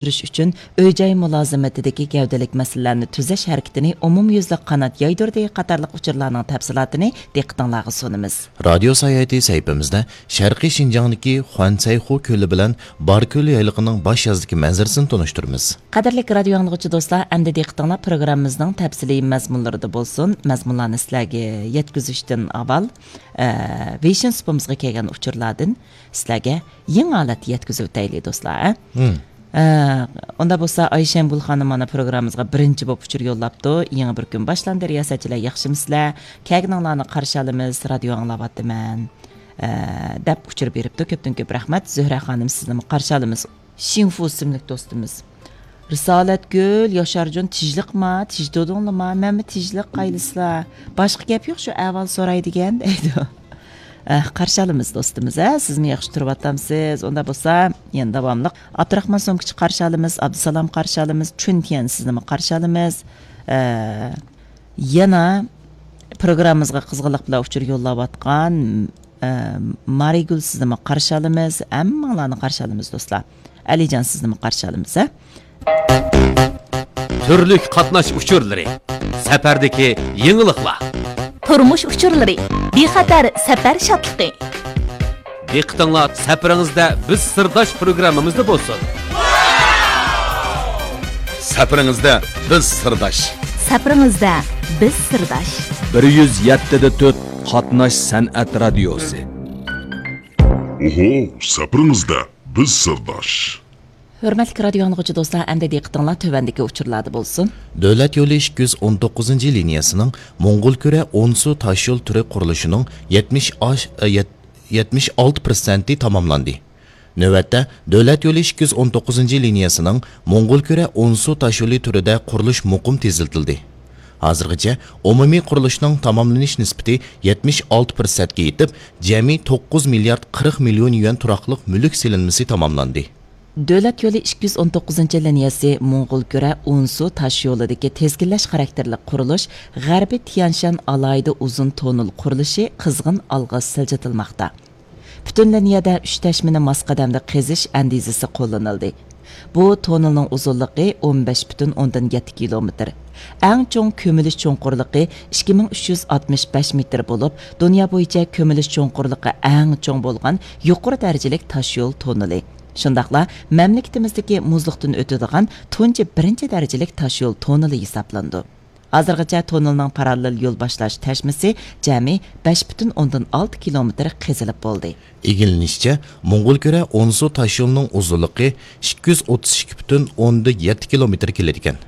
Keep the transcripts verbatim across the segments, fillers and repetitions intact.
ئۆستۈرۈش ئۈچۈن ئۆي-جاي مۇلازىمىتىدىكى گەۋدىلىك مەسىلىلەرنى تۈزەش ھەرىكىتىنى ئومۇميۈزلۈك قانات يايدۇردى قاتارلىق ئۇچۇرلارنىڭ تەپسىلاتىنى دىققىتىڭلارغا سۇنىمىز. رادىيو ساياھىتى سەھىپىمىزدە شەرقىي شىنجاڭدىكى خۇەنسەيخۇ كۆلى بىلەن باركۆل يايلىقىنىڭ باش يازدىكى مەنزىرىسىنى تونۇشتۇرىمىز. قەدىرلىك رادىيو ئاڭلىغۇچى دوستلار، ئەمدى دىققىتىڭلار پروگراممىمىزنىڭ تەپسىلىي مەزمۇنلىرىدا بولسۇن. مەزمۇنلارنى سىلەرگە يەتكۈزۈشتىن ئاۋۋال، ئە، ۋېيشىن سۇپىمىزغا كەلگەن ئۇچۇرلاردىن سىلەرگە يېڭى ھالەتتە يەتكۈزۈۋېتەيلى، دوستلار، ھە؟ ھىم. ئە، ئۇندا بولسا ئايشەمگۈل خانىم مانا پروگراممىمىزغا بىرىنچى بولۇپ ئۇچۇر يوللاپتۇ. يېڭى بىر كۈن باشلاندى، رىياسەتچىلەر ياخشىمۇسىلەر؟ كەلگىنىڭلارنى قارشى ئالىمىز، رادىيو ئاڭلاۋاتىمەن، ئە، دەپ ئۇچۇر بېرىپتۇ. كۆپتىن كۆپ رەھمەت. زۆھرە خانىم، سىزنىمۇ قارشى ئالىمىز. شىڭفۇ ئىسىملىك دوستىمىز. رىسالەتگۈل، ياشارجان تىجلىقما، تىج تۇدۇڭلىما، مەنمۇ تىجلىق قايلىسىلا. باشقا گەپ يوق، شۇ ئەھۋال سوراي دېگەن، دەيدۇ. ئە، قارشى ئالىمىز دوستىمىز، ھە، سىزمۇ ياخشى تۇرۇۋاتامسىز؟ ئۇندا بولسا، يەنە داۋاملىق ئابدۇراخمان سومكىچى قارشى ئالىمىز، ئابدۇسالام قارشى ئالىمىز، چۈنتيەن سىزنىمۇ قارشى ئالىمىز. ئە، يەنە پروگراممىمىزغا قىزغىنلىق بىلەن ئۇچۇر يوللاۋاتقان، ئە، مارىگۈل سىزنىمۇ قارشى ئالىمىز، ھەممىڭلارنى قارشى ئالىمىز دوستلار. ئەلىجان سىزنىمۇ قارشى ئالىمىز، ھە؟ تۈرلۈك قاتناش ئۇچۇرلىرى، سەپەردىكى يېڭىلىقلار. تۇرمۇش ئۇچۇرلىرى، بىخەتەر سەپەر شادلىقى. دىققىتىڭلار سەپىرىڭىزدە بىز سىرداش پروگراممىمىزدا بولسۇن. سەپىرىڭىزدە بىز سىرداش. سەپىرىڭىزدە بىز سىرداش. بىر يۈز يەتتە دە تۆت قاتناش سەنئەت رادىيوسى. ئوھو، سەپىرىڭىزدە بىز سىرداش. ھۆرمەتلىك رادىيو ئاڭلىغۇچى دوستلار، ئەمدى دىققىتىڭلار تۆۋەندىكى ئۇچۇرلاردا بولسۇن. دۆلەت يولى ئىككى يۈز ئون توققۇزىنچى لىنىيەسىنىڭ موڭغۇلكۈرە ئونسۇ تاشيول تۈرى قۇرۇلۇشىنىڭ يەتمىش ئاش-، ئە، يەت-، يەتمىش ئالتە پىرسەنتى تاماملاندى. نۆۋەتتە، دۆلەت يولى ئىككى يۈز ئون توققۇزىنچى لىنىيەسىنىڭ موڭغۇلكۈرە ئونسۇ تاشيولى تۈرىدە قۇرۇلۇش مۇقىم تېزلىتىلدى. ھازىرغىچە ئومۇمىي قۇرۇلۇشنىڭ تاماملىنىش نىسبىتى يەتمىش ئالتە پىرسەنتكە يېتىپ، جەمئىي توققۇز مىليارد قىرىق مىليون يۈەن تۇراقلىق مۈلۈك سېلىنمىسى تاماملاندى. دۆلەت يولى ئىككى يۈز ئون توققۇزىنچى لىنىيەسى موڭغۇلكۈرە ئونسۇ تاشيولىدىكى تىزگىنلەش خاراكتېرلىك قۇرۇلۇش غەربىي تيەنشان ئالاھىدە ئۇزۇن توننېل قۇرۇلۇشى قىزغىن ئالغا سىلجىتىلماقتا. پۈتۈن لىنىيەدە ئۈچ تەشمىنى ماس قەدەمدە قېزىش ئەندىزىسى قوللىنىلدى. بۇ توننېلنىڭ ئۇزۇنلۇقى ئون بەش پۈتۈن ئوندىن يەتتە كىلومېتىر. ئەڭ چوڭ كۆمۈلۈش چوڭقۇرلۇقى ئىككى مىڭ ئۈچ يۈز ئاتمىش بەش مېتىر بولۇپ، دۇنيا بويىچە كۆمۈلۈش چوڭقۇرلۇقى ئەڭ چوڭ بولغان يۇقىرى دەرىجىلىك تاشيول توننېلى. شۇنداقلا مەملىكىتىمىزدىكى مۇزلۇقتىن ئۆتىدىغان تۇنجى بىرىنچى دەرىجىلىك تاشيول توننېلى ھېسابلىنىدۇ. ھازىرغىچە توننېلنىڭ پاراللېل يول باشلاش تەشمىسى جەمئىي بەش پۈتۈن ئوندىن ئالتە كىلومېتىر قېزىلىپ بولدى. ئىگىلىنىشىچە، موڭغۇلكۈرە ئونسۇ تاشيولىنىڭ ئۇزۇنلۇقى ئىككى يۈز ئوتتۇز ئىككى پۈتۈن ئوندىن يەتتە كىلومېتىر كېلىدىكەن.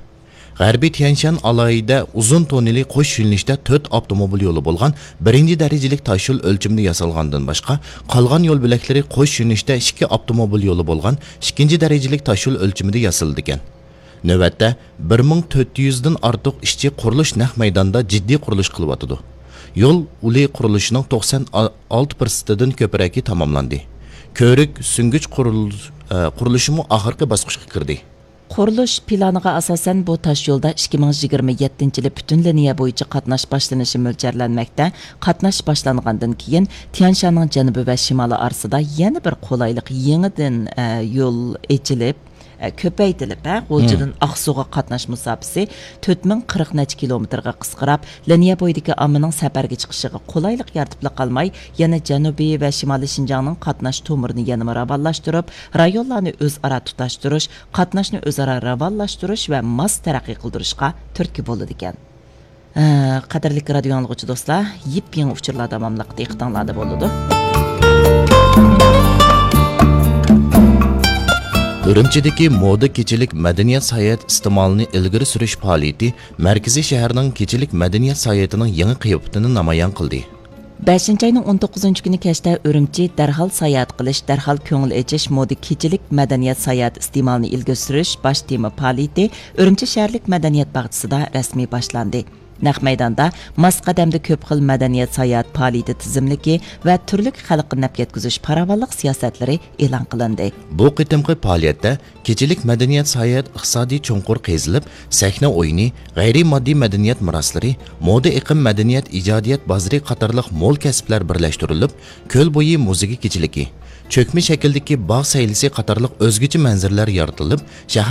غەربىي تيەنشان ئالاھىدە ئۇزۇن توننېلى قوش يۆنىلىشتە تۆت ئاپتوموبىل يولى بولغان بىرىنچى دەرىجىلىك تاشيول ئۆلچىمىدە ياسالغاندىن باشقا، قالغان يول بۆلەكلىرى قوش يۆنىلىشتە ئىككى ئاپتوموبىل يولى بولغان ئىككىنچى دەرىجىلىك تاشيول ئۆلچىمىدە ياسىلىدىكەن. نۆۋەتتە، بىر مىڭ تۆت يۈزدىن ئارتۇق ئىشچى قۇرۇلۇش نەق مەيدانىدا جىددىي قۇرۇلۇش قىلىۋاتىدۇ. يول ئۇلى قۇرۇلۇشىنىڭ توقسان ئالتە پىرسەنتىدىن كۆپرەكى تاماملاندى. كۆۋرۈك، سۈڭگۈچ قۇرۇل-، ئە، قۇرۇلۇشىمۇ ئاخىرقى باسقۇچقا كىردى. قۇرۇلۇش پىلانىغا ئاساسەن، بۇ تاشيولدا ئىككى مىڭ يىگىرمە يەتتىنچى يىلى پۈتۈن لىنىيە بويىچە قاتناش باشلىنىشى مۆلچەرلەنمەكتە. قاتناش باشلانغاندىن كېيىن، تيەنشاننىڭ جەنۇبى ۋە شىمالى ئارىسىدا يەنە بىر قولايلىق يېڭىدىن، ئە، يول ئېچىلىپ، ئە، كۆپەيتىلىپ، ھە، غۇلجىدىن ئاقسۇغا قاتناش مۇساپىسى تۆت مىڭ قىرىق نەچچە كىلومېتىرغا قىسقىراپ، لىنىيە بويىدىكى ئاممىنىڭ سەپەرگە چىقىشىغا قولايلىق يارىتىپلا قالماي، يەنە جەنۇبىي ۋە شىمالىي شىنجاڭنىڭ قاتناش تومۇرىنى يەنىمۇ راۋانلاشتۇرۇپ، رايونلارنى ئۆزئارا تۇتاشتۇرۇش، قاتناشنى ئۆزئارا راۋانلاشتۇرۇش ۋە ماس تەرەققىي قىلدۇرۇشقا تۈرتكە بولىدىكەن. ھە، قەدىرلىك رادىيو ئاڭلىغۇچى دوستلار، يېپيېڭى ئۇچۇرلار داۋاملىق دىققىتىڭلاردا بولىدۇ. ئۈرۈمچىدىكى مودا كېچىلىك مەدەنىيەت ساياھەت ئىستېمالىنى ئىلگىرى سۈرۈش پائالىيىتى مەركىزىي شەھەرنىڭ كېچىلىك مەدەنىيەت ساياھىتىنىڭ يېڭى قىياپىتىنى نامايان قىلدى. بەشىنچى ئاينىڭ ئون توققۇزىنچى كۈنى كەچتە ئۈرۈمچى دەرھال ساياھەت قىلىش، دەرھال كۆڭۈل ئېچىش، مودا كېچىلىك مەدەنىيەت ساياھەت ئىستېمالىنى ئىلگىرى سۈرۈش باش تېما پائالىيىتى ئۈرۈمچى شەھەرلىك مەدەنىيەت باغچىسىدا رەسمىي باشلاندى. نەق مەيداندا ماس قەدەمدە كۆپ خىل مەدەنىيەت ساياھەت پائالىيىتى تىزىملىكى ۋە تۈرلۈك خەلققە نەپ يەتكۈزۈش پاراۋانلىق سىياسەتلىرى ئېلان قىلىندى. بۇ قېتىمقى پائالىيەتتە كېچىلىك مەدەنىيەت ساياھەت ئىقتىسادىي چوڭقۇر قېزىلىپ، سەھنە ئويۇنى، غەيرىي ماددىي مەدەنىيەت مىراسلىرى، مودا ئېقىم مەدەنىيەت ئىجادىيەت بازىرى قاتارلىق مول كەسىپلەر بىرلەشتۈرۈلۈپ، كۆل بويى مۇزىكا كېچىلىكى، چۆكمە شەكىلدىكى باغ سەيلىسى قاتارلىق ئۆزگىچە مەنزىرىلەر يارىتىلىپ، شەھەر